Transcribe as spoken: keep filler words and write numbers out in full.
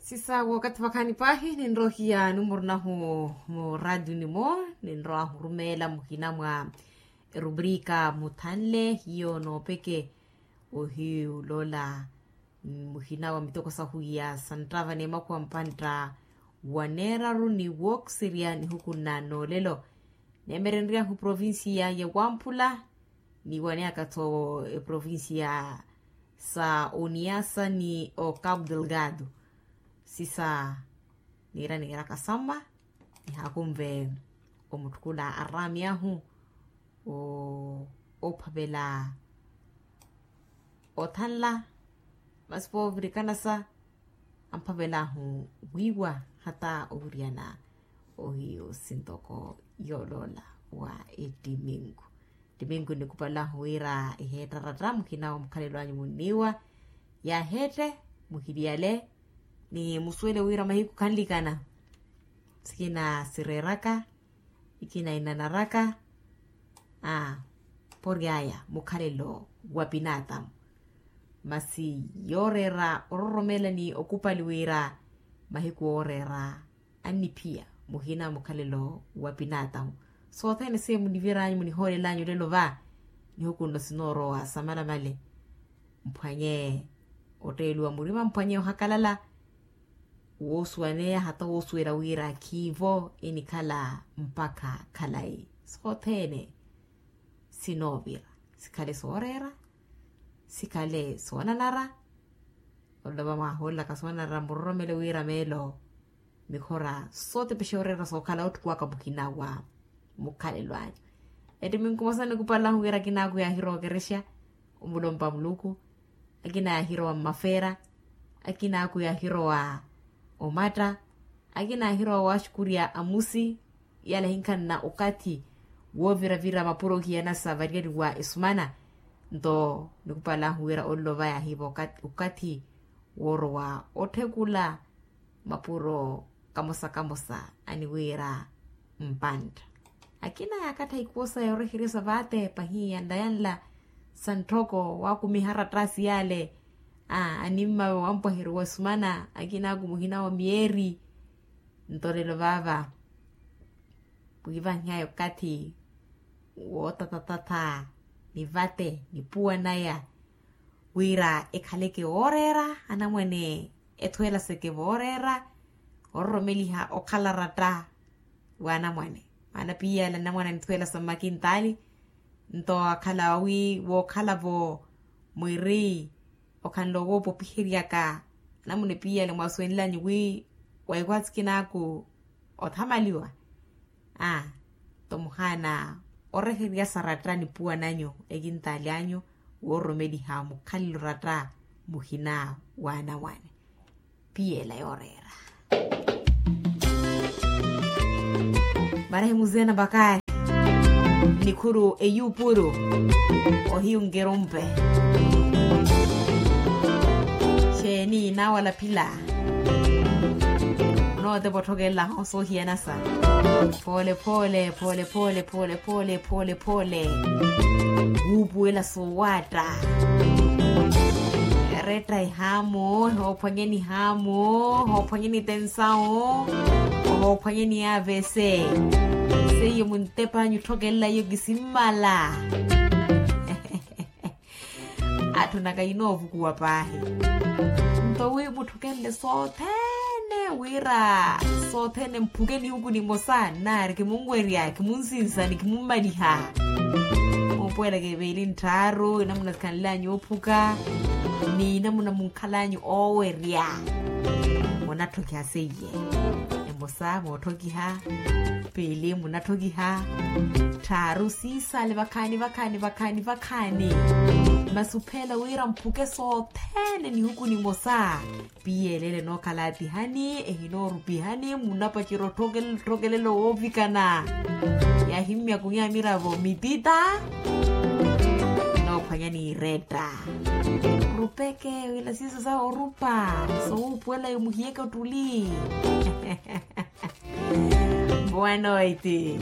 Sisa wakathi vakhaani paahi ninrohiya numuru nahu mu radio nimo, ninrowa hurumeela muhina mwa erubrika muthanle hiyo noopeke. Ohiyu loola muhina wa mitoko sahu ya santtava n'emakhuwa mpantta wa neeraru ni wooksiriya nihukunna noolelo. Neemerenryahu provincia ya wamphula, niiwaneyaka-tho eprovincia sa oniasa ni o cabo delgado. Sisa niira niiraka samma nihaakunve omutthukula araami ahu ophavela othanla masi voovirikana sa amphavel'ahu wiiwa hata owiriyana ohiyu sintoko yooloola wa ettiminku. Ettiminku nikupal'ahu wira eheettaratta mukhina wa mukhalelo anyu munniiwa yaaheette muhiliyale ni musuwele wira mahiku khanlikana sikina sireeraka ikina inanaraka a poryaya mukhalelo wa pinaatamu. Masi yooreera ororomela ni okupali wira mahiku ooreera anniphiya muhina mukhalelo wa pinaatamu. Sothene seiyo muniviranyu munihoolelanyu lelo va nihukunno sinoorowa samalamale. Mphwanye otteeliwa murima mphwanye ohakalala woosuwaneya hata woosuwela wira khiivo enikhala mpakha khalayi sothene sinoovira sikhale sooreera sikhale soonanara. Olova mwaahoolelaka soonanara muroromele wira meelo mikhora sootepexa oreera sookhala otthukuwaka muhina wa mukhalelo anyu. Ettiminku mosa nikupal'ahu wira akina aku yaahirowa okerexa omulompa muluku akina yaahirowa mmafeera akina aku yaahirowa omatta akina yaahirowa waaxukurya amusi. Yale hinkhanna okathi wooviravira mapuro ohiyanasa variyari wa esumana. Nto nikupal'ahu wira olova yaahiiva okathi woorowa otthekula mapuro kamosa kamosa aniwiira mpantta. Akina yaakattha ikuwo saya oreheryasa vate pahi yanla yanla sa ntthoko waakumiha arattasi yale a animma wampwaheri wa esumana akina aku muhina wa miyeeri. Nto lelo vaava wiivanhiyaya okathi wootatatatha ni vate ni puwanaya wira ekhaleke wooreera anamwane ethuwelaseke vooreera ororomeliha okhala ratta w'anamwane. Maana piyale anamwane anithuwelasa mmakintaali nto akhala wi wookhalavo mwiri okhanle owoopopiheryaka anamwane piyale mwasuwenlanyu wi waikwatsikin'aku othamaliwa a tomuhaana oreheryasa ratta nipuwananyu ekintaali anyu woororomeliha mukhalelo ratta muhina w'anamwane. Piyela yooreera marahi muzena bakari nikhuru eyupuru ohiyu nkerumpe. Xeeni nawalaphila nootepa otthokelela hoosa ohiyanasa pholephoole pholephoole pholephoole pholephoole wuupuwela soowatta. Retta ehaamu ehoophwanyeni ehaamu ehoophwanyeni tensawu ehoophwanyeni avc. Seiyo muntepanyu otthokelela iyo kisimmala. Atthu naka yinoovukuwa paahi nto wi mutthukenle sothene wira sothene mphuke nihuku nimosa nnaari kimunwerya kimunsinsani kimummaliha. Muupuwelaka eveeli nttharu enamuna sikhanlanyu oophuka ni enamuna munkhalanyu oowerya. Munatthokiha seiye emosa mootthokiha piili munatthokiha tthaaru siisale vakhaani vakhaani vakhaani vakhaani. Masi upheela wira mphuke sothene nihuku nimosa. Piyelele nookhala atihani ehinoorupihani munapacira otthokelela woovikana. Yahimmyakunya miravo mitita noophwanya niiretta rupeke wila siiso sa orupa sowuupuwela yomuhiyeke ottuli. Boa noite.